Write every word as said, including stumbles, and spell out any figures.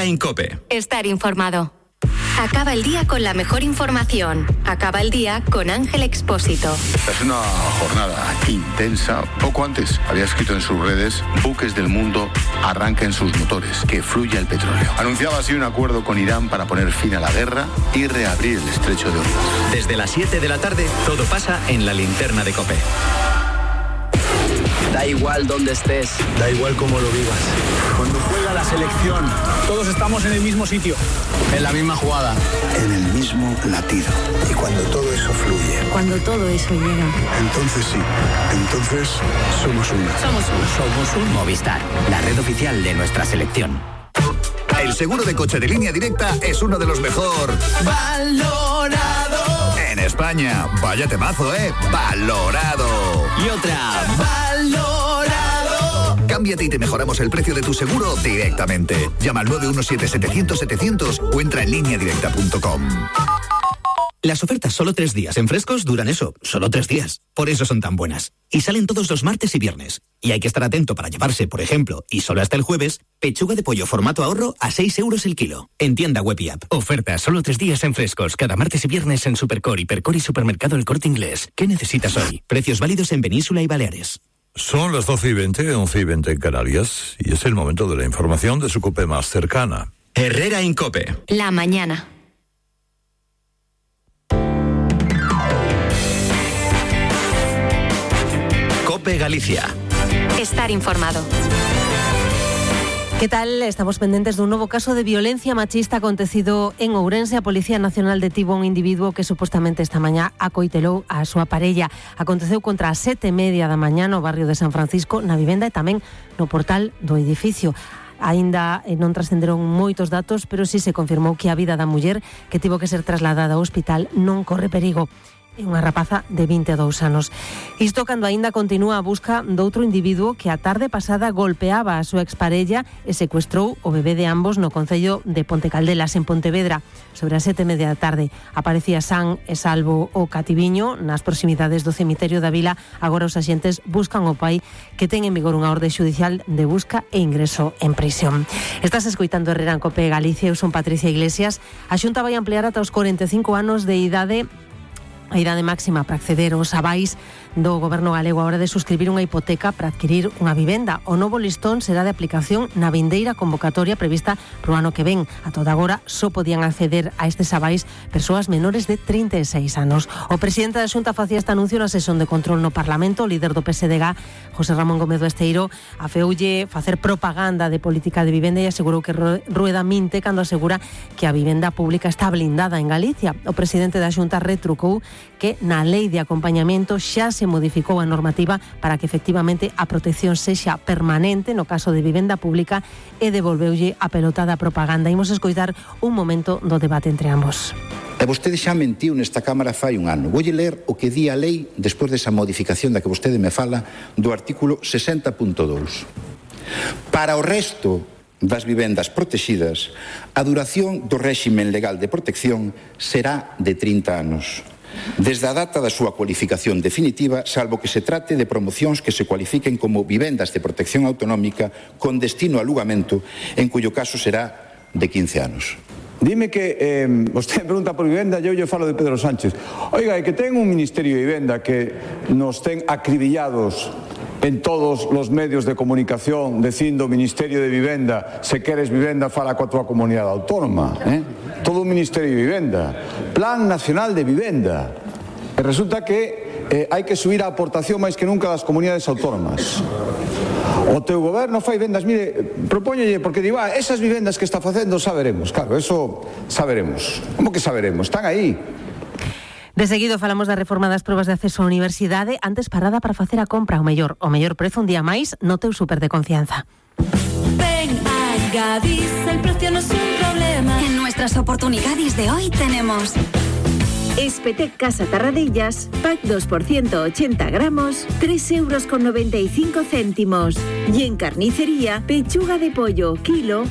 Herrera Incope. Estar informado. Acaba el día con la mejor información. Acaba el día con Ángel Expósito. Es una jornada intensa. Poco antes había escrito en sus redes: buques del mundo arranquen sus motores, que fluya el petróleo. Anunciaba así un acuerdo con Irán para poner fin a la guerra y reabrir el estrecho de Hormuz. Desde las siete de la tarde, todo pasa en la linterna de COPE. Da igual dónde estés, da igual cómo lo vivas. Cuando juega la selección, todos estamos en el mismo sitio, en la misma jugada, en el mismo latido. Y cuando todo eso fluye, cuando todo eso llega, entonces sí, entonces somos una. Somos uno. Somos un Movistar, la red oficial de nuestra selección. El seguro de coche de Línea Directa es uno de los mejor valorado en España. Vaya temazo, ¿eh? Valorado. Y otra, valorado. Cámbiate y te mejoramos el precio de tu seguro directamente. Llama al nueve uno siete setecientos setecientos o entra en línea directa punto com. Las ofertas solo tres días en Frescos duran eso, solo tres días. Por eso son tan buenas. Y salen todos los martes y viernes. Y hay que estar atento para llevarse, por ejemplo, y solo hasta el jueves, pechuga de pollo formato ahorro a seis euros el kilo. En tienda web y app. Ofertas solo tres días en Frescos, cada martes y viernes en Supercor, Hipercor y Supermercado El Corte Inglés. ¿Qué necesitas hoy? Precios válidos en Península y Baleares. Son las doce y veinte, once y veinte en Canarias, y es el momento de la información de su COPE más cercana. Herrera Incope. La mañana. COPE Galicia. Estar informado. ¿Qué tal? Estamos pendientes de un nuevo caso de violencia machista acontecido en Ourense. A Policía Nacional detivo a un individuo que supostamente esta mañá acoitelou a súa parella. Aconteceu contra as sete e media da mañá no barrio de San Francisco, na vivenda e tamén no portal do edificio. Aínda non trascenderon moitos datos, pero sí se confirmou que a vida da muller que tivo que ser trasladada ao hospital non corre perigo. É unha rapaza de vinte e dous anos. Isto cando aínda continúa a busca doutro individuo que a tarde pasada golpeaba a súa exparella e secuestrou o bebé de ambos no concello de Pontecaldelas, en Pontevedra. Sobre as sete e media da tarde aparecía san e salvo o cativiño nas proximidades do cemiterio da vila. Agora os axentes buscan o pai, que ten en vigor unha orde xudicial de busca e ingreso en prisión. Estás escoitando Herrera en COPE Galicia. Eu son Patricia Iglesias. A Xunta vai ampliar ata os cuarenta e cinco anos de idade a idade máxima para acceder aos avais do Goberno galego a hora de suscribir unha hipoteca para adquirir unha vivenda. O novo listón será de aplicación na vindeira convocatoria prevista pro ano que ven. A toda agora só podían acceder a estes avais persoas menores de trinta e seis anos. O presidente da Xunta facía este anuncio na sesión de control no Parlamento. O líder do P S D G, José Ramón Gómez do Esteiro, afeoulle facer propaganda de política de vivenda e asegurou que Rueda minte cando asegura que a vivenda pública está blindada en Galicia. O presidente da Xunta retrucou que na lei de acompañamento xa se modificou a normativa para que efectivamente a protección sexa permanente no caso de vivenda pública e devolveulle a pelota da propaganda. Imos escoitar un momento do debate entre ambos. E vostede xa mentiu nesta Cámara fai un ano. Voulle ler o que di a lei despois desa modificación da que vostede me fala do artículo sesenta punto dous. Para o resto das vivendas protegidas, a duración do réximen legal de protección será de trinta anos. Desde a data da súa cualificación definitiva, salvo que se trate de promocións que se cualifiquen como vivendas de protección autonómica con destino a alugamento, en cuyo caso será de quince anos. Dime que, eh, vostede pregunta por vivenda, eu lle falo de Pedro Sánchez. Oiga, é que ten un Ministerio de Vivenda que nos ten acribillados en todos os medios de comunicación dicindo Ministerio de Vivenda, se queres vivenda fala coa tua comunidade autónoma, eh? Todo o Ministerio de Vivenda, Plan Nacional de Vivenda, e resulta que eh, hai que subir a aportación máis que nunca das comunidades autónomas. O teu goberno fai vendas, mire, propóñolle, porque digo, ah, esas vivendas que está facendo saberemos, claro, eso saberemos. Como que saberemos? Están aí. De seguido falamos da reforma das probas de acceso á universidade. Antes parada para facer a compra ao mellor, o mellor prezo un día máis no teu súper de confianza. Ven a Gadis, el precio no es un problema. En nuestras oportunidades de hoy tenemos Espetec Casa Tarradellas, pack dos por ciento ochenta gramos, tres euros con noventa y cinco céntimos. Y en carnicería, pechuga de pollo, kilo,